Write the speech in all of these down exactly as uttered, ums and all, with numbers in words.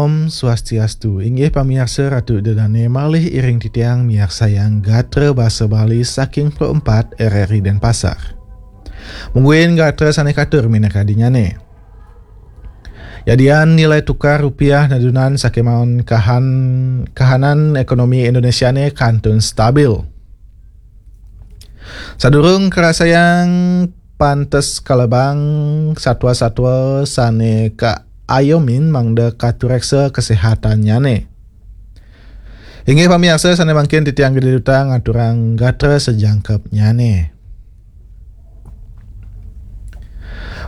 Om Swastiastu, inggih pamiarsa Ratu Ida Dane malih iring titiang miarsayang gatra basa Bali saking Pro empat R R I Denpasar. Mungguin gatra sane katur minakadinyane. Yadian nilai tukar rupiah nadunan sakemaon kahan, kahanan ekonomi Indonesia ne kantun stabil. Sadurung karasayang pantes kalebang satwa-satwa sane kaayomin mangda katureksa kesehatannyane. Inggih pamiarsa sane mangkin titiang Gede Duta ngaturang gatra sejangkepnyane.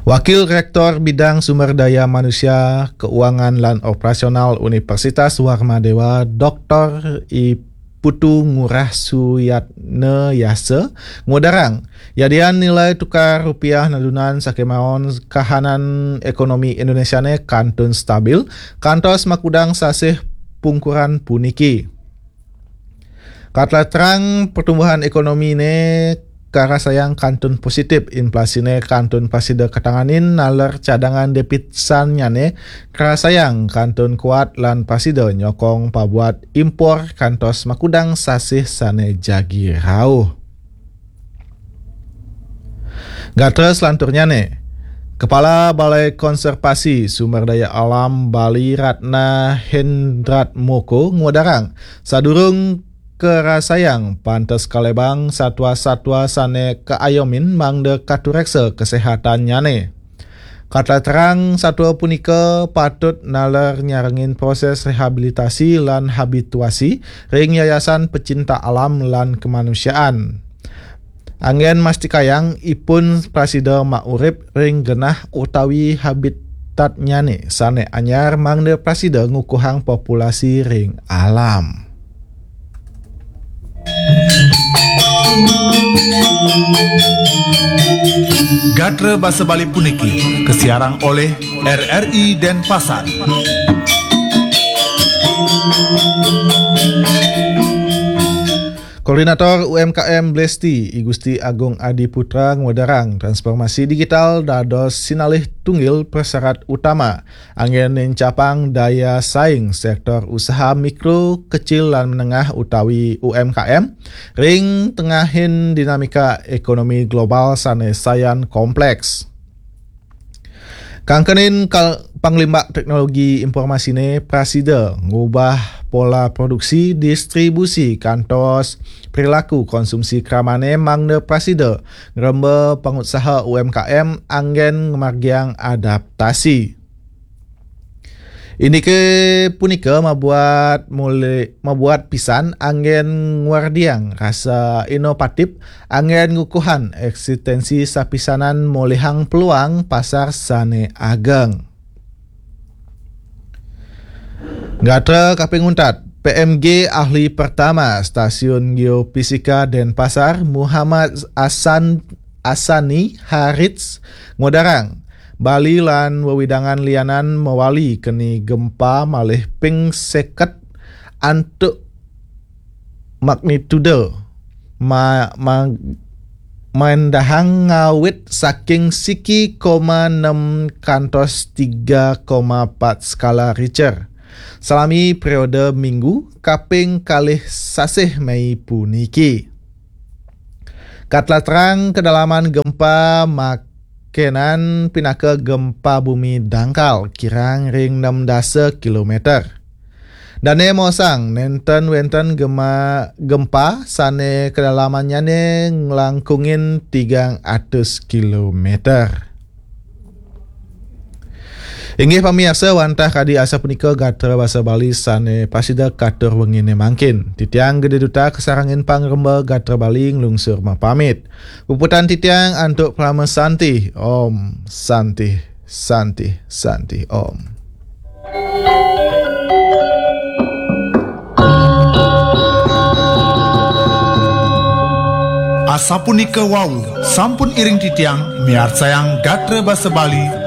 Wakil Rektor Bidang Sumber Daya Manusia, Keuangan lan Operasional Universitas Warmadewa, Doktor I Putu Ngurah Suyatna Yasa, ngudarang, yadian nilai tukar rupiah nadunan sakemaon kahanan ekonomi Indonesia ne kantun stabil, kantos makudang sasih pungkuran puniki. Katlatrang pertumbuhan ekonomi ne karasayang kantun positif, inflasi ne kantun prasida katanganin, naler cadangan devisanyane karasayang kantun kuat lan prasida nyokong pabuat impor kantos makudang sasih sane jagi rauh. Gatra selanturnyane, Kepala Balai Konservasi Sumber Daya Alam Bali Ratna Hendrat Moko ngudarang, sadurung karasayang pantes kalebang satwa-satwa sane kaayomin mangda katureksa kesehatannyane. Katlatrang satwa punika patut naler nyarengin proses rehabilitasi lan habituasi ring Yayasan Pecinta Alam lan Kemanusiaan. Anggen mastikayang ipun prasida maurip ring genah utawi habitatnyane sane anyar mangda prasida ngukuhang populasi ring alam. Gatra basa Bali puniki kasiarang oleh R R I Denpasar. Koordinator U M K M Blesti, I Gusti Agung Adi Putra, ngudarang transformasi digital dados sinalih tunggil prasyarat utama anggen nincapang daya saing sektor usaha mikro, kecil, lan menengah utawi U M K M ring tengahin dinamika ekonomi global sane sayan kompleks. Kangkenin kal-, panglimbak teknologi informasine prasida ngubah pola produksi, distribusi, kantos perilaku konsumsi kramane mangda prasida ngremba pangutsaha U M K M anggen ngamargiang adaptasi. Indike punika mabuat mule-, mabuat pisan anggen ngwardiang rasa inovatif, anggen ngukuhan eksistensi sapisanan molihang peluang pasar sane ageng. Gatra kaping untat, P M G ahli pertama Stasiun Geofisika Denpasar, Muhammad Asan Asani Harits, ngudarang, Bali lan wewidangan lianan mawali keni gempa malih ping seket antuk magnitude ma-, ma-, maendahang ngawit saking siki koma enam kantos tiga koma empat skala Richter. Salami periode minggu kaping kalih sasih Mei puniki. Katlatrang kedalaman gempa makenan pinaka gempa bumi dangkal kirang ring enam dasa kilometer. Dane mosang nenten wenten gema-, gempa sane kedalamannyane nglangkungin tigang atus kilometer. Inggih pamiarsa, wantah kadi asapunika gatra basa Bali sane prasida katur wengine mangkin. Titiang Gede Duta kasarengin pangremba gatra Bali nglungsur mapamit. Puputang titiang antuk Parama Santi. Om Santi, Santi, Santi, Om. Asapunika wau, sampun iring titiang miarsayang gatra basa Bali